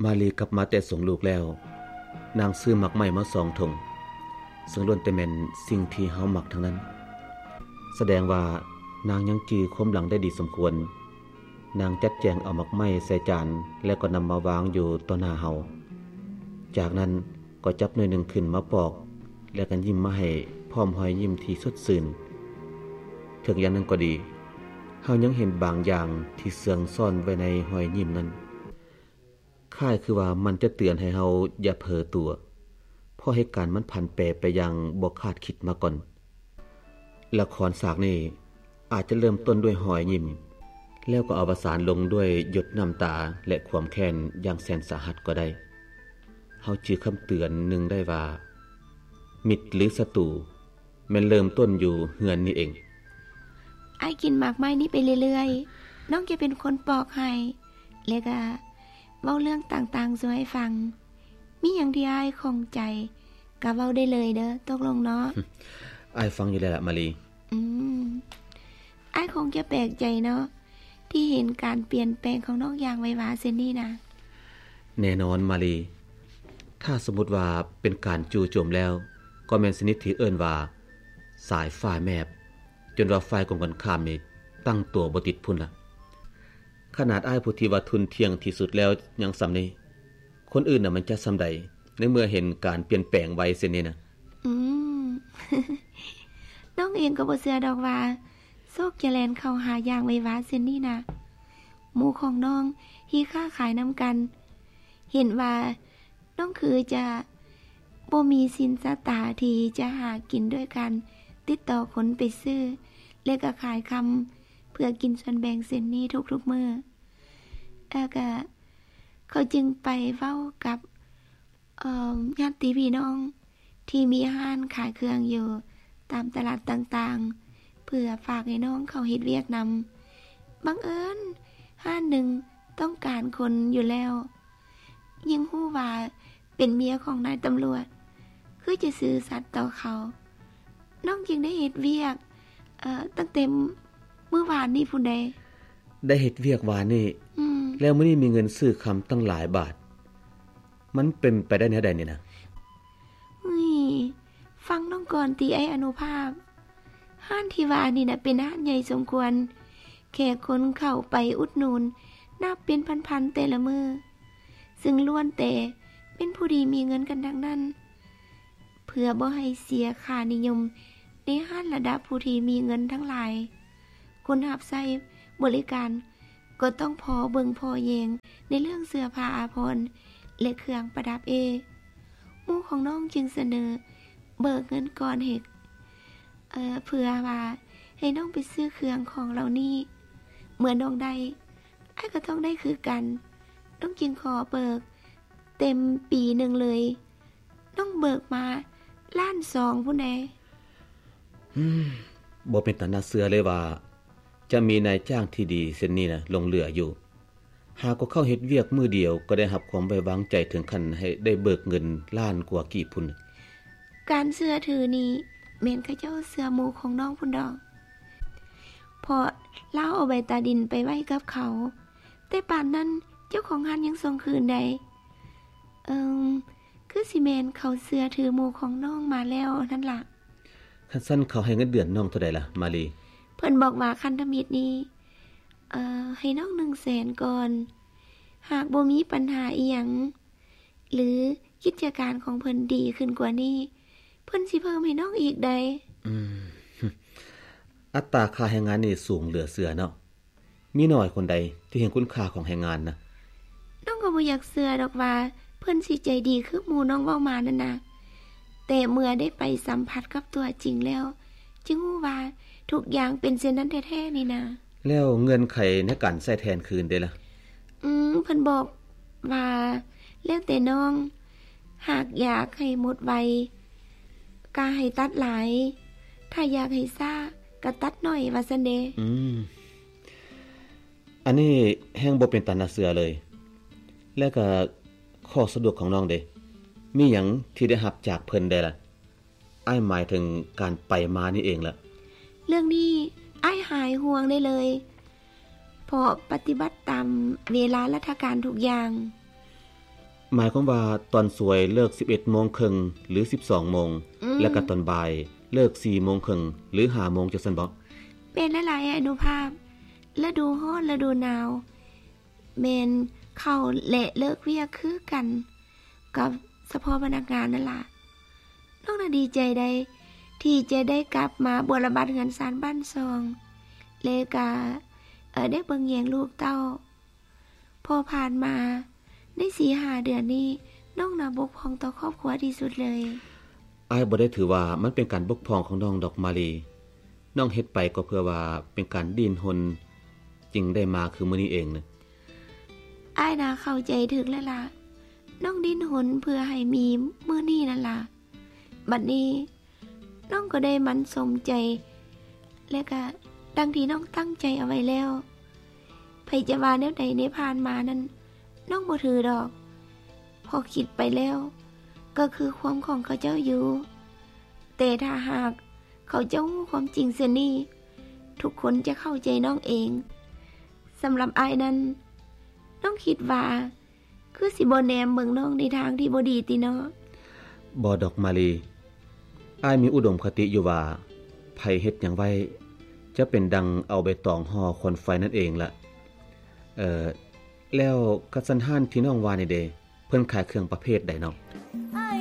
ມາລີກັບມາແຕ່ສົ່ງລູກແລ້ວ, ນາງຊື້ໝາກໄມ້ມາສອງຖົງ, ເຊິ່ງລ້ວນແຕ່ແມ່ນສິ່ງທີ່ເຮົາມັກທັງນັ້ນ. ສະແດງວ່ານາງຍັງຈື່ຄວາມຫຼັງໄດ້ດີສົມຄວນ. ນາງຈັດແຈງເອົາໝາກໄມ້ໃສ່ຈານ ແລ້ວກໍນຳມາວາງຢູ່ຕໍ່ໜ້າເຮົາ. ຈາກນັ້ນກໍຈັບໜ່ວຍໜຶ່ງຂຶ້ນມາປອກ ແລ້ວກໍຍິ້ມມາໃຫ້ ພ້ອມຮອຍຍິ້ມທີ່ສົດຊື່ນ. ເຖິງຢ່າງນັ້ນກໍດີ, ເຮົາຍັງເຫັນບາງຢ່າງທີ່ເຊື່ອງຊ້ອນໄວ້ໃນຮອຍຍິ້ມນັ້ນ. ຄ້າຍຄືວ່າມັນຈະເຕືອນໃຫ້ເຮົາຢ່າເຜີຕົວ, ເພາະເຫດການມັນຜັນແປໄປຢ່າງບໍ່ຄາດຄິດມາກ່ອນ. ລະຄອນສາກນີ້ອາດຈະເລີ່ມຕົ້ນດ້ວຍຮອຍຍິ້ມ, ແລ້ວກໍອະວະສານລົງດ້ວຍຢົດນ້ຳຕາ ແລະ ຄວາມແຄ້ນຢ່າງແສນສາຫັດກໍໄດ້. ເຮົາຈື່ຄຳເຕືອນໜຶ່ງໄດ້ວ່າ, ມິດ ຫຼື ສັດຕູ ແມ່ນເລີ່ມຕົ້ນຢູ່ເຮືອນນີ້ເອງ. ອ້າຍກິນໝາກໄມ້ນີ້ໄປເລື້ອຍໆ, ນ້ອງຈະເປັນຄົນປອກໃຫ້ ແລະກະເວົ້າເລື່ອງຕ່າງໆສູ່ອ້າຍຟັງ. ມີຫຍັງທີ່ອ້າຍຂ້ອງໃຈກະເວົ້າໄດ້ເລີຍເດີ້, ຕົກລົງເນາະ? ອ້າຍຟັງຢູ່ແລ້ວລະ ມາລີ. ອືມ, ອ້າຍຄົງຈະແປກໃຈເນາະ ທີ່ເຫັນການປ່ຽນແປງຂອງນ້ອງຢ່າງໄວວາເຊັ່ນນີ້ນະ. ແນ່ນອນ ມາລີ. ຖ້າສົມມຸດວ່າເປັນການຈູ່ໂຈມແລ້ວ, ກໍແມ່ນຊະນິດທີ່ເອີ້ນວ່າສາຍຟ້າແມບ, ຈົນວ່າຝ່າຍກົງກັນຂ້າມນີ້ຕັ້ງຕົວບໍ່ຕິດພຸ້ນລະ. ຂະໜາດອ້າຍຜູ້ທີ່ວ່າທຸ່ນທ່ຽງທີ່ສຸດແລ້ວຍັງສ່ຳນີ້, ຄົນອື່ນນະມັນຈະສ່ຳໃດ ໃນເມື່ອເຫັນການປ່ຽນແປງໄວເຊັ່ນນີ້ນະ? ອືມ, ນ້ອງເອງກໍບໍ່ເຊື່ອດອກວ່າໂຊກຈະແລ່ນເຂົ້າຫາຢ່າງໄວວາເຊັ່ນນີ້ນະ. ໝູ່ຂອງນ້ອງທີ່ຄ້າຂາຍນຳກັນ ເຫັນວ່າ ນ້ອງຄືຈະບໍ່ມີສິນຊະຕາທີ່ຈະຫາກິນດ້ວຍການຕິດຕໍ່ຄົນໄປຊື້ ແລະ ກໍຂາຍຄຳເພື່ອກິນສ່ວນແບ່ງເຊັ່ນນີ້ທຸກໆມື້. ແລ້ວກໍເຂົາຈຶ່ງໄປເວົ້າກັບ ເອີ່ມ ຍາດຕິພີ່ນ້ອງທີ່ມີຮ້ານຂາຍເຄື່ອງຢູ່ຕາມຕະຫຼາດຕ່າງໆ ເພື່ອຝາກໃຫ້ນ້ອງເຂົາເຮັດວຽກນຳ. ບັງເອີນຮ້ານໜຶ່ງ ຕ້ອງການຄົນຢູ່ແລ້ວ, ຍິ່ງຮູ້ວ່າເປັນເມຍຂອງນາຍຕຳຫຼວດ ຄືຈະຊື່ສັດຕໍ່ເຂົາ. ນ້ອງຈຶ່ງໄດ້ເຮັດວຽກ ເອີ ຕັ້ງແຕ່ມື້ວານນີ້ພຸ້ນເດ້. ໄດ້ເຮັດວຽກວານນີ້? ອືມ. ແລ້ວມື້ນີ້ມີເງິນຊື້ຄຳຕັ້ງຫຼາຍບາດ, ມັນເປັນໄປໄດ້ແນວໃດນີ້ນະ? ເຮີ້ຍ, ຟັງນ້ອງກ່ອນຕິ ອ້າຍອະນຸພາບ. ຮ້ານທີ່ວ່ານີ້ນະ ເປັນຮ້ານໃຫຍ່ສົມຄວນ, ແຂກຄົນເຂົ້າໄປອຸດໜູນນັບເປັນພັນໆແຕ່ລະມື້, ຊຶ່ງລ້ວນແຕ່ເປັນຜູ້ດີມີເງິນກັນທັງນັ້ນ. ເພື່ອບໍ່ໃຫ້ເສຍຄ່ານິຍົມໃນຮ້ານລະດັບຜູ້ທີ່ມີເງິນທັງຫຼາຍ, ຄົນຮັບໃຊ້ບໍລິການກໍຕ້ອງພໍເບິ່ງພໍແຍງໃນເລື່ອງເສື້ອຜ້າອາພອນ ແລະ ເຄື່ອງປະດັບເອ. ໝູ່ຂອງນ້ອງຈຶ່ງສະເໜີເບີກເງິນກ່ອນໃຫ້ ເອີ ເພື່ອວ່າໃຫ້ນ້ອງໄປຊື້ເຄື່ອງຂອງເຫຼົ່ານີ້. ເມື່ອນ້ອງໄດ້, ອ້າຍກໍຕ້ອງໄດ້ຄືກັນ. ນ້ອງຈຶ່ງຂໍເບີກເຕັມປີໜຶ່ງເລີຍ. ນ້ອງເບີກມາລ້ານສອງພຸ້ນເດ້. ອືມ, ບໍ່ເປັນຕາໜ້າເຊື່ອເລີຍວ່າ ຈະມີນາຍຈ້າງທີ່ດີເຊັ່ນນີ້ນະ ຫຼົງເຫຼືອຢູ່. ຫາກໍເຂົ້າເຮັດວຽກມື້ດຽວ ກໍໄດ້ຮັບຄວາມໄວ້ວາງໃຈເຖິງຂັ້ນໃຫ້ໄດ້ເບີກເງິນລ້ານກວ່າກີບພຸ້ນ. ການເຊື່ອຖືນີ້ແມ່ນເຂົາເຈົ້າເຊື່ອໝູ່ຂອງນ້ອງພຸ້ນດອກ, ເພາະລາວເອົາໃບຕາດິນໄປໄວ້ກັບເຂົາ, ແຕ່ປານນັ້ນເຈົ້າຂອງຮ້ານຍັງສົ່ງຄືນໄດ້. ເອີ່ມ, ຄືຊິແມ່ນເຂົາເຊື່ອຖືໝູ່ຂອງນ້ອງມາແລ້ວນັ້ນລະ. ຄັນຊັ້ນເຂົາໃຫ້ເງິນເດືອນນ້ອງເທົ່າໃດລະ ມາລີ? ເພິ່ນບອກວ່າຂັ້ນທຳອິດນີ້ ເອີ ໃຫ້ນ້ອງໜຶ່ງແສນກ່ອນ. ຫາກບໍ່ມີບັນຫາອີ່ຫຍັງ ຫຼື ກິດຈະການຂອງເພິ່ນດີຂຶ້ນກວ່ານີ້, ເພິ່ນຊິເພີ່ມໃຫ້ນ້ອງອີກໃດ໋. ອືມ, ອັດຕາຄ່າແຮງງານນີ້ສູງເຫຼືອເຊື່ອເນາະ. ມີໜ້ອຍຄົນໃດທີ່ເຫັນຄຸນຄ່າຂອງແຮງງານນະ. ນ້ອງກໍບໍ່ຢາກເຊື່ອດອກວ່າເພິ່ນຊິໃຈດີຄືໝູ່ນ້ອງເວົ້າມານັ້ນນະ, ແຕ່ເມື່ອໄດ້ໄປສຳຜັດກັບຕົວຈິງແລ້ວ ຈຶ່ງຮູ້ວ່າທຸກຢ່າງເປັນເຊັ່ນນັ້ນແທ້ໆນີ້ນະ. ແລ້ວເງື່ອນໄຂໃນການໃຊ້ແທນຄືນເດລະ? ອືມ, ເພິ່ນບອກວ່າແລ້ວແຕ່ນ້ອງ, ຫາກຢາກໃຫ້ໝົດໄວ ກະໃຫ້ຕັດຫຼາຍ, ຖ້າຢາກໃຫ້ຊ້າ ກະຕັດໜ້ອຍ ວ່າຊັ້ນເດ. ອືມ. ອັນນີ້ແຮ່ງບໍ່ເປັນຕາໜ້າເຊື່ອເລີຍ. ແລ້ວກະຂໍ້ສະດວກຂອງນ້ອງເດ? ມີຫຍັງທີ່ໄດ້ຮັບຈາກເພິ່ນແດ່ລະ? ອ້າຍໝາຍເຖິງການໄປມານີ້ເອງລະ. ເລື່ອງນີ້ອ້າຍຫາຍຫ່ວງໄດ້ເລີຍ, ເພາະປະຕິບັດຕາມເວລາລັດຖະການທຸກຢ່າງ. ໝາຍຄວາມວ່າຕອນສວຍເລີກສິບເອັດໂມງເຄິ່ງ ຫຼື ສິບສອງໂມງ ອືມ ແລະກະຕອນບ່າຍເລີກສີ່ໂມງເຄິ່ງ ຫຼື ຫ້າໂມງ ຈັ່ງຊັ້ນບໍ? ແມ່ນແລ້ວຫຼາຍອະນຸພາບ. ລະດູຮ້ອນ ລະດູໜາວ ແມ່ນເຂົ້າ ແລະ ເລີກວຽກຄືກັນກັບສະເພາະພະນັກງານນັ້ນລະ. ນ້ອງນະດີໃຈໄດ໋ ທີ່ຈະໄດ້ກັບມາບົວລະບັດເຮືອນຊານບ້ານຊ່ອງ ແລະກະ ເອີ ໄດ້ເບິ່ງແຍງລູກເຕົ້າ ເພາະຜ່ານມາໃນສີ່ຫ້າເດືອນນີ້ ນ້ອງນະບົກຜ່ອງຕໍ່ຄອບຄົວທີ່ສຸດເລີຍ. ອ້າຍບໍ່ໄດ້ຖືວ່າມັນເປັນການບົກຜ່ອງຂອງນ້ອງດອກມາລີ. ນ້ອງເຮັດໄປກໍເພື່ອວ່າເປັນການດີ້ນຮົນ ຈຶ່ງໄດ້ມາຄືມື້ນີ້ເອງນະ. ອ້າຍນະເຂົ້າໃຈຖືກແລ້ວລະ. ນ້ອງດີ້ນຮົນເພື່ອໃຫ້ມີມື້ນີ້ນັ້ນລະ. ບັດນີ້ ນ້ອງກໍໄດ້ໝັ້ນສົມໃຈ ແລະກະດັ່ງທີ່ນ້ອງຕັ້ງໃຈເອົາໄວ້ແລ້ວ. ໃຜຈະວ່າແນວໃດໃນຜ່ານມານັ້ນ ນ້ອງບໍ່ຖືດອກ ເພາະຄິດໄປແລ້ວ ກໍຄືຄວາມຂອງເຂົາເຈົ້າຢູ່. ແຕ່ຖ້າຫາກເຂົາເຈົ້າຮູ້ຄວາມຈິງເຊັ່ນນີ້ ທຸກຄົນຈະເຂົ້າໃຈນ້ອງເອງ. ສຳລັບອ້າຍນັ້ນ ນ້ອງຄິດວ່າ ຄືຊິບໍ່ແນມເບິ່ງນ້ອງໃນທາງທີ່ບໍ່ດີຕິເນາະ? ບໍ່ດອກມາລີ. ອ້າຍມີອຸດົມຄະຕິຢູ່ວ່າ ໃຜເຮັດຫຍັງໄວ້ ຈະເປັນດັ່ງເອົາໃບຕອງຫໍ່ຄວັນໄຟນັ້ນເອງລະ. ເອີ ແລ້ວກະສັນຮ້ານທີ່ນ້ອງວ່ານີ້ເດ ເພິ່ນຂາຍເຄື່ອງປະເພດໃດເນາະ?